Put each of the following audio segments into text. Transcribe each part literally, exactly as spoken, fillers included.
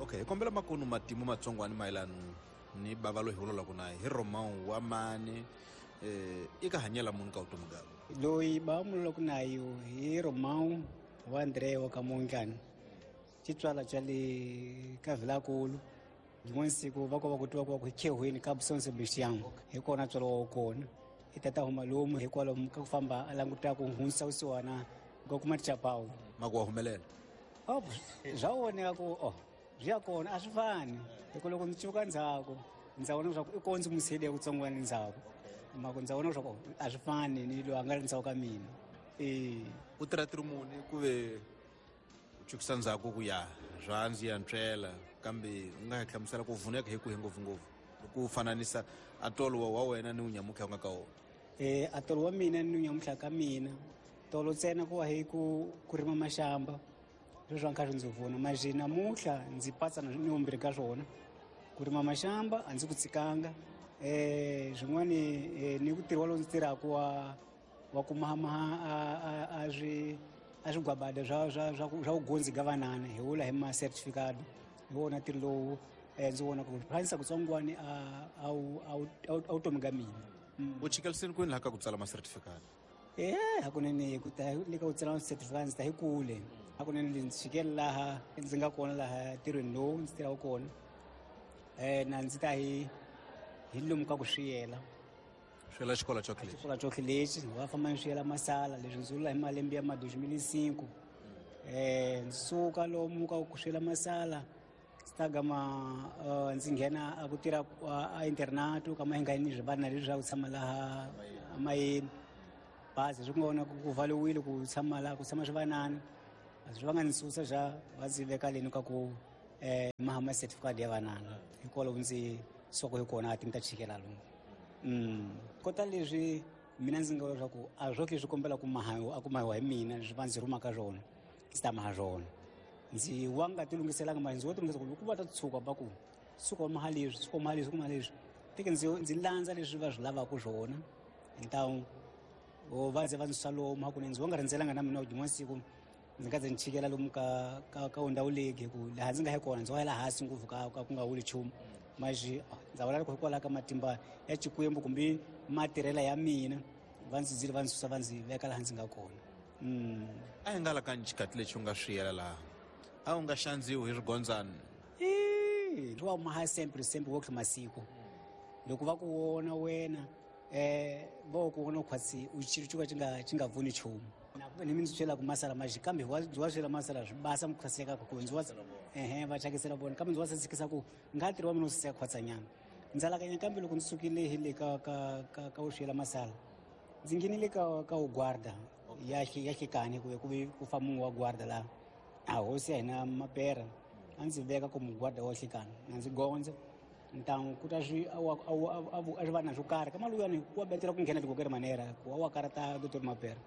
Okay, hi kombela makunu matimu matsongwani mayelana ni bava loyi hi vulavulaka na hi Romão wa mani eh i ka hanyela munhu ka vutomi bya loyi ba mululaku nayo hi Romão wa André wa ka Mondlane xitswala xa le ka Vilakulu rin'wana siku va ko va ku twa ku va ku khehweni ka São Sebastião hi kona tswalo wa kona i tata huma lomu hikwalaho ka ku famba a languta ku hundzisa vusiwana ku kuma tichapawu ma ku wa humelela oh swa voneka ku oh swi ya kona a swi fani hi ku loko ndzi cuka ndzhaku ndza vona leswaku i ko ndzi musele kutsongwana ndzhaku mako ndza vona leswaku a swi fani ni loyi a nga ri ndzhaku ka mina e u tirha tirho muni ku ve u cukisa ndzhaku ku ya swa ndzi ya ntswela kambe u nga hi hlamusela ku vuneka hi kwihi ngopfungopfu loko u fananisa atolo wa wena ni unyamutlha u nga ka wona e atolo wa mina ni unyamutlha ka mina tolo ntsena ku wa hi ku ku rima maxamba leswi a kha swi ndzi pfuna maji namuntlha ndzi patsa ni vumbirhi ka swona ku rima maxamba a ndzi ku tshikanga um swin'wani ni ku tirhi wa lowu ndzi tirhaka wa wa ku mahamaha a swi a swigwabada swa swa swa swa vugundzi ka vanana hi vula hi ma certificate hi wona ntirho lowu ndzi vona ku hanyisa kutsongwani a a a vutomi ka mina u chikeliseni kwini laha ka ku tsala ma certificate e hakunene ku ta le ka ku tsala ma certificate ndzi ta hi kule hakunene ndzi chikele laha ndzi nga kona laha ntirhweni lowu ndzi tirhaka kona um na ndzi ta hi hi lomu ka ku swiyela swiyela xikolo xo lexi xikolo xo lexi va famba ni swiyela masala leswi ndzi vula hi malembe ya ma dois mil e cinco um ndzi suka lomu ka ku swiyela masala ndzi ta gama ndzi nghena a ku tirha a internato ka mahingani swivana leswi swa ku tshama laha amayeni bazi swi nga vona ku valiwile ku tshama laha ku tshama swivanana swi va nga ndzi susa xa va ndzi veka leni ka ku um mahama certificate ya vanana hikwalaho ndzi soko hi kona a ti ni ta chikela lomu kota leswi mina ndzi nga vula leswaku a swo leswi kombela ku mahawa a ku mahiwa hi mina leswi va ndzi rhumaka swona ndzi ta maha swona ndzi wa nga ti lunghiselanga mali ndzi wo ti lunghisa ku loko va ta tshuka va ku tshuka u maha leswi tshuka u maha leswi maha leswi teke ndzi ndzi landza leswi va swi lavaka swona ntawu va ndzi va ndzi susa lomu hakunene ndzi wa nga rindzelanga na mina rin'wana siku ndzi nga ze ni chikela lomu ka ka ka ndhawu leyi hi ku laha ndzi nga hi kona ndzi wa yela hansi ngopfu ka ka ku nga wuli nchumu mas ndza vula loko hikwalaho ka matimba ya Xikwembu kumbe matirhela ya mina va ndzi zile va ndzi susa va ndzi veka laha ndzi nga kona a hi nga la ka xikati lexi u nga swiyela laha a wu nga xandziwi hi swigondzani i wa maha sempre sempre wo masiku loko va ku vona wena um va ku vona khwatsi u xilo xo ka xi nga xi nga pfuni nchumu ni mi ndzi byelaka masala maxi kambe ndzi wa swela masala swi basa ku saseka ku ndzi wa ehe va thyakisela vona kambe ndzi wa sasekisa ku nga ntirho wa mina wu saseka khwatsanyana ndzi alakanya kambe loko ndzi sukile hi le ka ka ka ka u swela masala ndzi nghenile ka ka u guarda ya ya hlekani ku ku ku fa munhu wa guarda laha a hosi ya hina mapera a ndzi veka ku muguarda wa hlekani na ndzi gondza ntangu ku ta swi a swi va na swo karhi ka maluyani ku wa betela ku nghena tikokeri manera ku wa wa karata doctor Mapera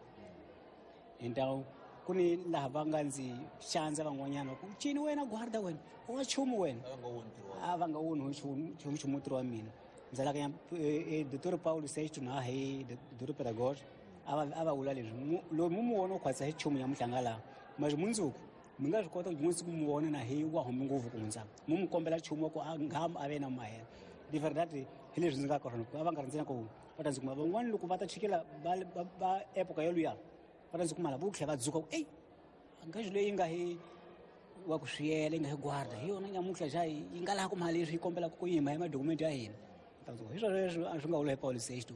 então ku ni laha va nga ndzi xandza van'wanyana ku cini wena guarda wena u nga chumu wena a va nga woni nchumu nchumu ntirho wa mina ndzi alakanya doctor Paulo Sexto na hi doctor Pedagogy a va a va vula leswi loyi mu mu vona u khwatsa hi chumu ya muhlanga laha mas mundzuku mi nga swi kota ku rin'wana siku mu vona na hi wa hume ngopfu ku hundza mu mu kombela nchumu wa ku a nga a ve na mahela de verdade hi leswi ndzi nga ka swona a va nga rindzela ku va ta ndzi kuma van'wani loko va ta chikela va va epoka yoluya va ta ndzi kuma lava vo tlhela va dzuka ku eyi ngaxi leyi nga hi wa ku swiyela yi nga hi guarda hi yona nyamuntlha xa yi nga laha ku mali leswi yi kombelaka ku yima hi madokumenti ya hina hi swona leswi a swi nga vula hi Paulo Sexto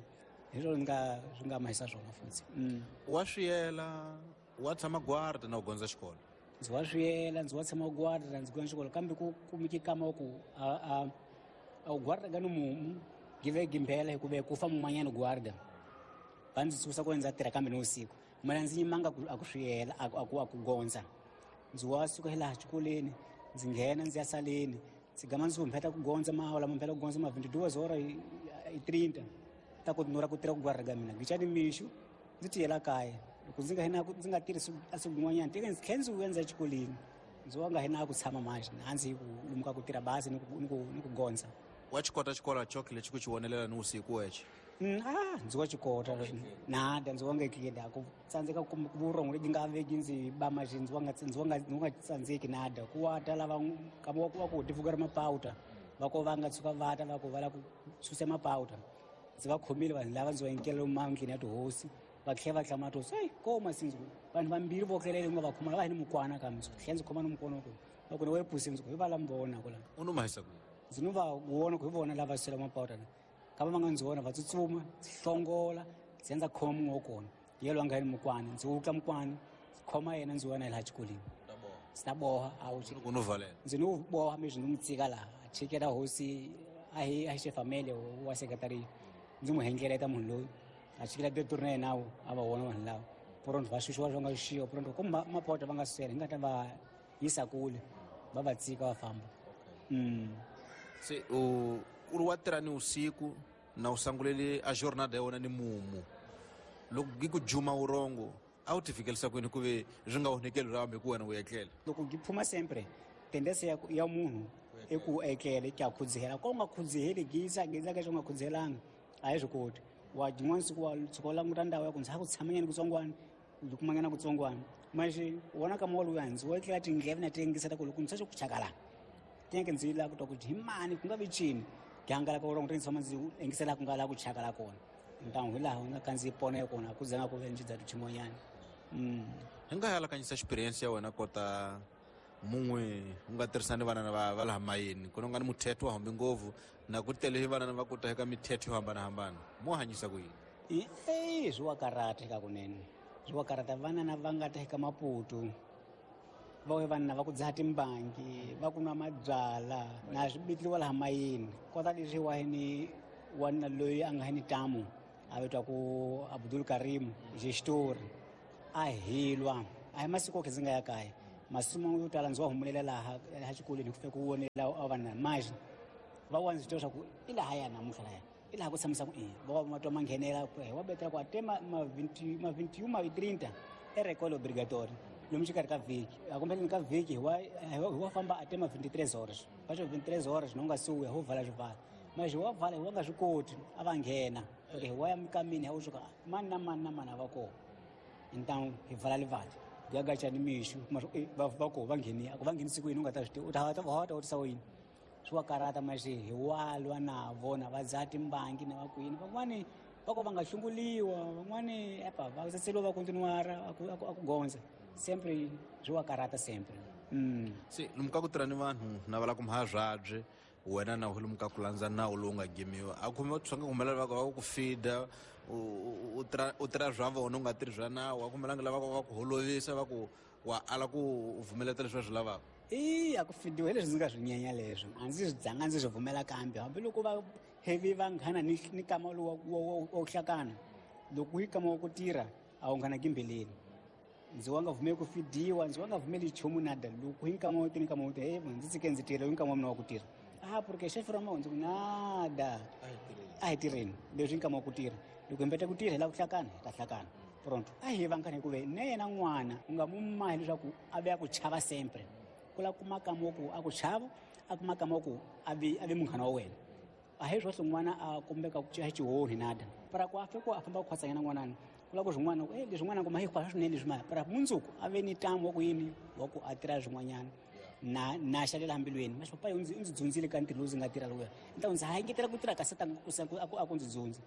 hi swona nga swi nga mahisa swona futhi wa swiyela wa tshama guarda na u gondza xikolo ndzi wa swiyela ndzi wa tshama guarda ndzi gondza xikolo kambe ku kumeke kama wa ku a a a u guarda ka ni mumu give gimbela hikuva ku fa mun'wanyana guarda va ndzi susa ku ndza tirha kambe ni vusiku mina ndzi yimanga a ku swiyela a ku a ku gondza ndzi wa suka hi laha xikolweni ndzi nghena ndzi ya saleni ndzi gama ndzi humpheta ku gondza maawula mphela ku gondza ma vinte e duas horas e trinta ta ku nura ku tirha ku guarda ka mina ngicani mixo ndzi tiyela kaya loko ndzi nga hina ndzi nga tirhisi a siku rin'wanyana teke ndzi tlhela ndzi vuya ndzi ya xikolweni ndzi wa nga hina ku tshama manje a ndzi ku lomuka ku tirha bazi ni ku ni ku ni ku gondza wa xi kota xikolo choke lexi ku xi vonelela ni vusiku wexe Ah, ndzi wa xikota nada ndzi wa nga etleli ku tsandzeka ku vurhongo lebyi nga veki ndzi ba maxi ndzi wa nga ndzi wa nga ndzi nga tsandzeki nada ku wa ta lava kama wa ku va ku tivuka ri mapawuta va ko va nga tshuka va ta va ku va lava ku susa mapawuta ndzi va khomile vanhu lava ndzi va nyikela lomu mandlini ya tihosi va tlhela va hlamula tihosi eyi koma sindzi vanhu vambirhi vo tlelela nga va khoma lava hi ni mukwana kambe ndzi tlhela ndzi khoma ni mukwana ku va ku ni we pusi ndzi ku hi va lava vona ku la u no mahisa ku ndzi no va vona ku hi vona lava sela mapawuta kava va nga ndzi vona va tsutsuma ndzi hlongola ndzi ya ndza khoma mun'we wa kona yelo a nga ni mukwana ndzi wutla mukwana ndzi khoma yena ndzi wena laha xikolweni ndzi ta boha a wu ku no valela ndzi no boha mi ndzi n'wi tshika laha a chikela hosi a hi a hi xefamele wa sekretari ndzi n'wi hengeleta munhu loyi a chikela direktori na yena a va vona vanhu lava pronto va xuxiwa va nga xuxiwa pronto ku mapota va nga swela hi nga ta va yisa kule va va tshika va famba se u u ri wa tirha ni usiku na u sangulele a jornada ya wena ni mumu loko gi ku juma urongo a wu ti fikelisa kwini ku ve swi nga onhekeli ra hambi ku wena u etlela loko gi phuma sempre tendense ya, ya munhu i ku etlele ki a khudzihela ko u nga khudziheli gisa gisa ka xo nga khudzihelanga a hi swi koti wa jin'wana siku wa tshuka u languta ndhawu ya ku ndzi ha ku tshamanyana kutsongwana u kumanyana kutsongwana manje wona ka mowa luya ndzi wo etlela tindleve na ti yingisela ku loko ndzi swa ku chakala tineke ndzi la ku twa ku hi mani ku nga vi cini gihangalaka urongo ti tshama ndzi yingisela ku nga laha ku chakala kona ntangu hi laha u nga khandziyi pona ya kona ku zanga ku ve ndzi dza tuchimonyana hi nga halakanyisa experience ya wena kota mun'we u nga tirhisani vanana va va laha mayeni ku nga ni muthetho wa hambi ngopfu na ku tele vanana va kuta eka mithetho yo hambanahambana mo hanyisa ku yini e swi wa karata eka kunene swi wa karata vanana va nga ta eka Maputo va we vanhu va ku dzaha timbangi va ku nwa mabyala na swi bitliwa laha mayini kota leswi wa ni wanuna loyi a nga ni tamu a vitwa ku Abdul Karim xitori a hilwa a hi masiku okhe ndzi nga ya kaya masimu yo tala ndzi wa humulela laha laha xikolweni ku fika ku vonela a vanhu maji va wa ndzi twa swa ku i laha ya namuntlha laya i laha ku tshamisa ku i va wa matwa ma nghenela wa betela ku a te ma ma vinti ma vinti ma trinta e rekolo obligatory lomu xikarhi ka vhiki a kumbeleni ka vhiki hi wa hi wa famba a te ma vinti-tres horas va xo vinti-tres horas no nga suya ho vala swivala maji wa vala hi wa nga swi koti a va nghena okay hi wa ya mikamini ha u suka mani na mani na mani a va kona então hi vala livati gagacha ni mixu va va ko va ngheni a ku va nghenisi ku yini u nga ta swi tiva u ta va ta vutisa yini swi wa karata maxi hi walwa na vona va dzaha timbangi na va kwini van'wani va ko va nga hlunguliwa van'wani epa va tsetseliwa va kontinuara a ku a ku gondza sempre swi wa karata sempre se lomu ka ku tirha ni vanhu na va la ku mhabyabye wena na lomu ka ku landza nawu lowu nga gimiwa a khume swi nga humelela va ku va ku feeda u tirha u tirha swa vona u nga tirhi swa nawu a kumelanga lava va ku holovisa va ku wa ala ku vumeleta leswi va swi lavaka i a ku fidiwa hi leswi ndzi nga swi nyenya leswo a ndzi swi dzanga ndzi swi vumela kambe hambiloko va hevi vanghana ni ni kama lowu wa ku hlakana loko yi kama wa ku tirha a wu nghana gimbeleni ndzi wa nga vumeli ku fidiwa ndzi wa nga vumeli nchumu nada loko hi nkama wo tirha nkama wo tirha hey ndzi tshike ndzi tirha hi nkama wa mina wa ku tirha ah porque xefe ra mahundzu nada a hi tirheni leswi nkama wa ku tirha loko hi mbeta ku tirha hi lava ku hlakana hi ta hlakana pronto a hi vanghana hikuva na yena n'wana u nga mu mahi leswaku a ve a ku chava sempre ku la kuma kama wa ku a ku chava a kuma kama wa ku a vi a vi munghana wa wena a hi swohle n'wana a kumbeka ku xihonhi nada para ku a fika a famba ku khwatsanyana n'wanani ku lava ku swin'wana eh leswi n'wana kuma hi khwasa swinene leswi maya para mundzuku a ve ni ntamu wa ku yini wa ku a tirha swin'wanyana na na xalela mbilweni masho papa ndzi ndzi dzundzile ka ntirho lowu ndzi nga tirha lowuya ntawu ndzi ha engetela ku tirha kasi tanga ku a ku ndzi dzundzi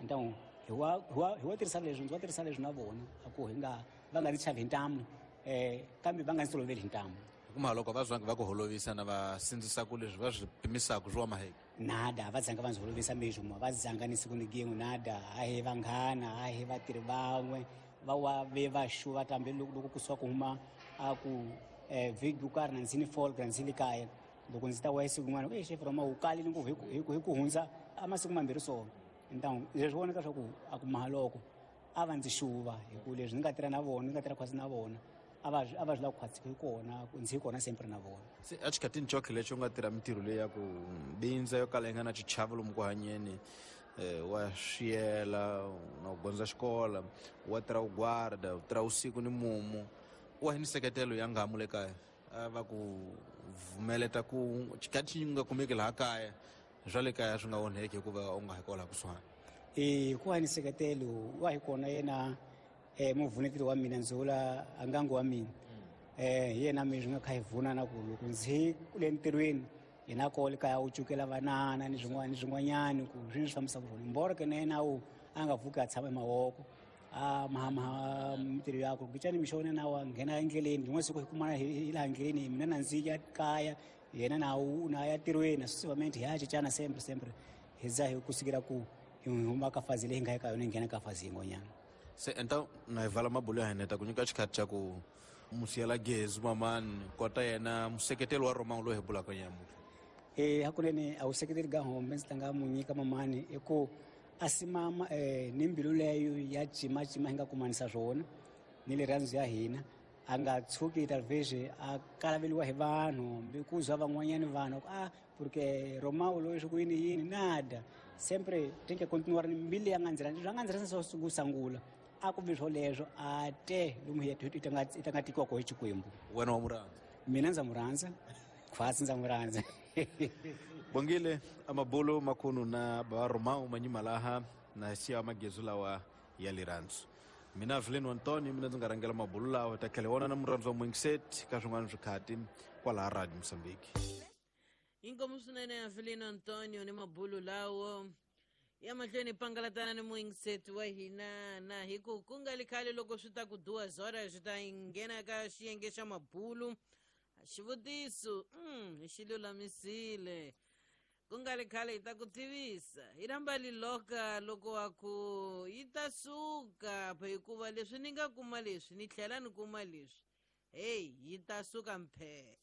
ntawu hi wa hi wa hi wa tirhisa leswi ndzi wa tirhisa leswi na vona a ku hi nga va nga ndzi chavi hi ntamu eh kambe va nga ndzi toloveli hi ntamu kuma loko va zwangi va ku holovisa na va sindzisa ku leswi va swi pimisaka swi wa maheke nada va dzanga va ndzi holovisa mixo va dzanga ni siku ni gin'we nada a hi vanghana a hi vatirhi van'we va wa ve va xuva tambe loko loko kusuka ku huma a ku eh vhiki yo karhi na ndzi ni fall ndzi le kaya loko ndzi ta wa siku rin'wana e xefe roma wu kalile ngopfu hi ku hi ku hi ku hundza a masiku mambirhi so então leswi vonaka swa ku a ku mahaloko a va ndzi xuva hi ku leswi ndzi nga tirha na vona ndzi nga tirha khwatsi na vona a va a va swi lava ku khwatsi hi kona ndzi hi kona sempre na vona se a xikhatini xo lexo u nga tirha mintirho leyi ya ku bindza yo kala yi nga na xichavo lomu ku hanyeni eh wa swiyela na ku gondza xikola wa tirha u guarda u tirha usiku ni mumu wa hi ni seketelo ya ngamu le kaya a va ku vumeleta ku xikhathi xi nga kumeki laha kaya swa le kaya swi nga onheki hikuva u nga hi kwalaha kusuhani E ku va ni nseketelo wa hi kona yena um muvuneteli wa mina ndzi vula ngangu wa mina um hi yena mi swi nga kha hi vunana ku loko ndzi kule ntirhweni yena kole kaya u cukela vanana ni swin'wana ni swin'wanyani ku swi swi fambisa ku swona mboro ke na yena wu a nga pfuki a tshama emavoko a mahamaha mintirho yakwe kumbexani mixo na wa nghena endleleni rin'wana siku hi kumana hi laha ndleleni mina na ndzi ya kaya yena na wu na ya tirhweni successivamente hi ya cincana sempre sempre hi za hi kusukela ku hi huma ka fazi leyi hi nga eka yona hi nghena ka fazi yin'wanyana. Se enta na hi vala mabulo ya hina ta ku nyika xikhathi xa ku musiyela gezi mamani kota yena museketeli wa Romão loyi hi bulaka nyamuntlha. E hakunene a wu seketeli ka hombe ndzi tlanga mu nyika mamani i ku a simama eh, ni mbilu leyo ya cimacima hi nga kumanisa swona ni rirhandzu ya hina a nga tshuki talvez a kalaveliwa hi vanhu hambi ku zwa van'wanyani vanhu ku ah porque Romão loyi swi ku yini yini nada sempre tem que continuar ni mbilu ya nga ndzi rhandza swa nga ndzi rhandza swa ku sangula a ku vi swoleswo a te lomu hi i ta nga i ta nga tikiwa koho hi Xikwembu. Wena wa mu rhandza? Mina ndza mu rhandza khwatsi ndza mu rhandza. Bongile amabulo makhunu na baba Romão manyima laha na siya magezu lawa ya lirhandzu. Mina Avelino Antonio mina ndzi nga rhangela mabulo lawa ta tlhela wona na murhandzu wa Moinset ka swin'wana swikhati kwalaha Radio Mozambique. Inkomu swinene Avelino Antonio ni mabulo lawo ya mahlweni pangalatana ni muingiseti wa hina na hi ku ku nga li khale loko swi ta ku duwa zora swi ta nghena ka xiyenge xa mabulu xivutiso mm, hi xi lulamisile ku nga li khale hi ta ku tivisa hi rhamba liloka loko wa ku yi ta suka hikuva leswi ni nga kuma leswi ni tlhela ni kuma leswi heyi yi ta suka mphe.